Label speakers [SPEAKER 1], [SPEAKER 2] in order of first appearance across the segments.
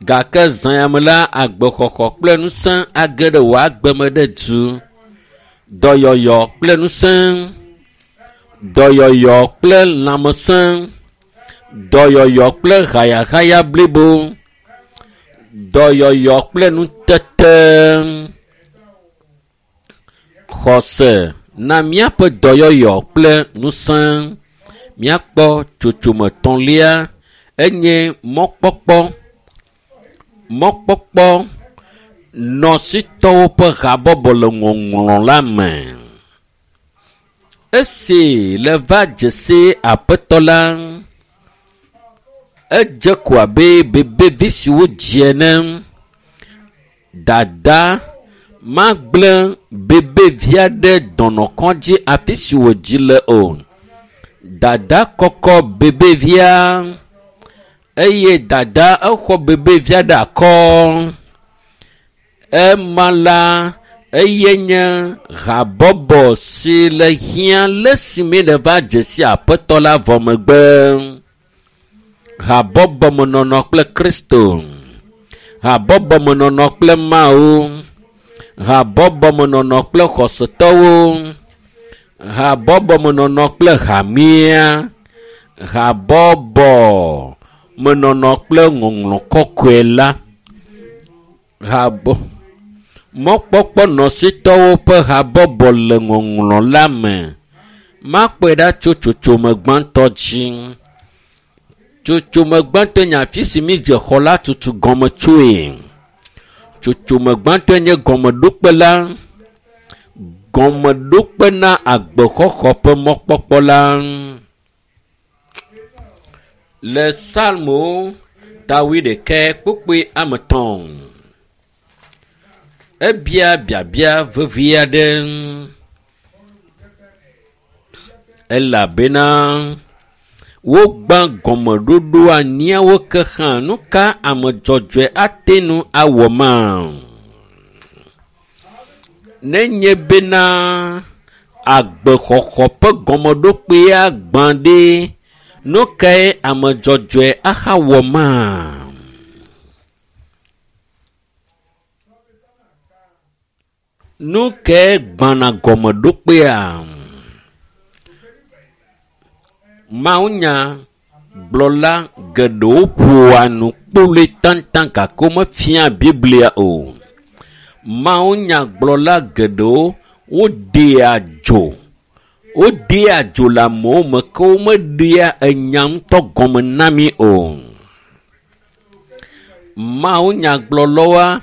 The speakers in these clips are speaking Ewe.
[SPEAKER 1] Gake zã ya me la, agbexɔxɔ kple ŋusẽ age ɖe wò agbe me ɖe du. Dɔyɔyɔ kple ŋusẽ, dɔyɔyɔ kple lãmesẽ, dɔyɔyɔ kple hayahaya blibo, dɔyɔyɔ kple nutete. Xɔse na míaƒe dɔyɔyɔ kple ŋusẽ. Míakpɔ tsotsome tɔ̃lia enye mɔkpɔkpɔ. Mɔkpɔkpɔ nɔsitɔwo ƒe habɔbɔ le ŋɔŋlɔ la me. Esi le va dze si aƒetɔ la, edze ko abe bebevi si wodzi ene. Dada magblẽ bebevia ɖe dɔnɔkɔdzi afi si wòdzi le o. Dada kɔkɔ bebevia eye dada exɔ bebevia ɖe akɔ. Ema la eye nye habɔbɔ si le hiã le esi mi le va dze si aƒetɔ la vɔ megbe. Habɔbɔmenɔnɔ kple Kristo. Habɔbɔmenɔnɔ kple Mawu. Habɔbɔmenɔnɔ kple xɔsetɔwo. Habɔbɔmenɔnɔ kple hamea. Habɔbɔmenɔnɔ kple ŋɔŋlɔ kɔkɔe la. Habɔ mɔkpɔkpɔ nɔsitɔwo ƒe habɔbɔ le ŋɔŋlɔ la me. Makpɔe ɖa tso tsotsome gbãtɔ dzi. Tsotsome gbãtɔe nye afi si mídze xɔ la tutu gɔme tsoe. Tsotsome gbãtɔe nye gɔmeɖokpe la. Gɔmeɖokpe na agbexɔxɔ ƒe mɔkpɔkpɔ la. Le Psalmo ta wuiɖekɛ kpukpui ame etɔ̃. Ebia biabia vevi aɖe elabena wogbã gɔmeɖoɖo anyiawo ke hã nu ka ame dzɔdzɔe ate ŋu awɔ ma? Nenye bena agbexɔxɔ ƒe gɔmeɖokpea gbã ɖe, nu kae ame dzɔdzɔe ahawɔ ma? Nu kae gbãna gɔmeɖokpea? Mawunya gblɔla geɖewo ƒoa nu kpoloe taŋtaŋ gake womefia Biblia o. Mawunyagblɔla geɖewo wodea dzo. Wodea dzo le amewo me ke womeɖea enya ŋutɔ gɔme na mí o. Mawunyagblɔlawoa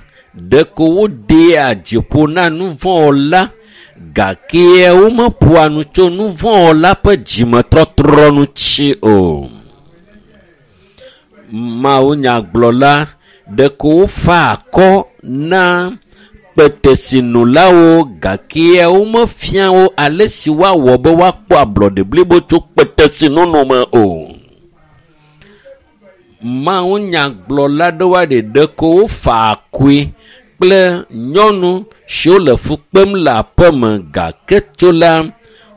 [SPEAKER 1] ɖeko wodea dziƒo na nuvɔ̃wɔla gake womeƒoa nu tso nuvɔ̃wɔla ƒe dzimetɔtrɔ ŋuti o. Mawunyagblɔla ɖeko wofaa akɔ na kpetesinolawo gake womefia wo ale si woawɔ be woakpɔ ablɔɖe blibo tso kpetesinono me o. Mawunyagblɔla ɖewoa ɖe ɖeko wofaa akɔe kple nyɔnu siwo le fu kpem le aƒeme gake tso la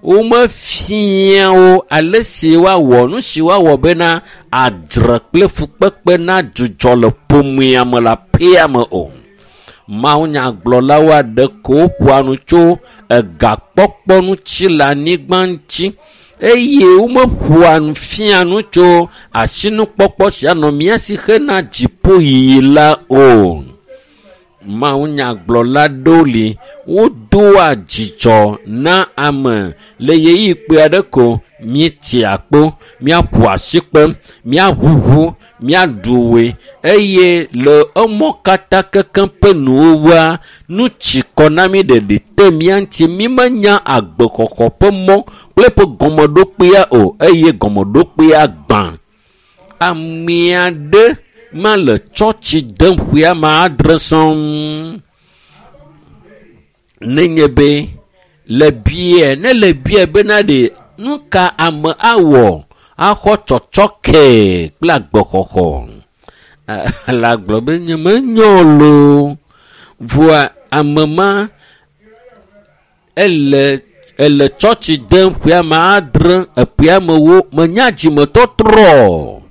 [SPEAKER 1] womefia wo ale si woawɔ nu si woawɔ bena adzre kple fukpekpe nadzudzɔ le ƒomea me le aƒea me o. Mawunyagblɔlawo aɖe ko woƒoa nu tso egakpɔkpɔ ŋuti le anyigba ŋuti eye womeƒoa nu fia nu tso asinukpɔkpɔ si anɔ mía si hena dziƒoyiyi la o. Mawunyagblɔla ɖewo li wodoa dzidzɔ na ame le ɣeyiɣi kpui aɖe ko míetia kpo, míaƒo asikpe, míaʋuʋu, míaɖu ʋe eye le emɔ katã kekem ƒe nuwuwua, nu tsi kɔ na mí ɖeɖi te mía ŋuti mímenya agbexɔxɔ ƒe mɔ kple eƒe gɔmeɖokpea o eye gɔmeɖokpea gbã. Ame aɖe ma le tsɔtsi dem ƒe ame adre sɔŋ. Nenye be le bia ne le bia bena ɖe nu ka ame awɔ axɔ tsɔtsɔke kple agbexɔxɔ. La gblɔ be nyemenyo loo. Vɔa ame ma ele ele tsɔtsi dem ƒe ame adre eƒe amewo menya dzimetɔtrɔ.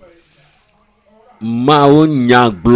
[SPEAKER 1] Mawu nya gblɔ.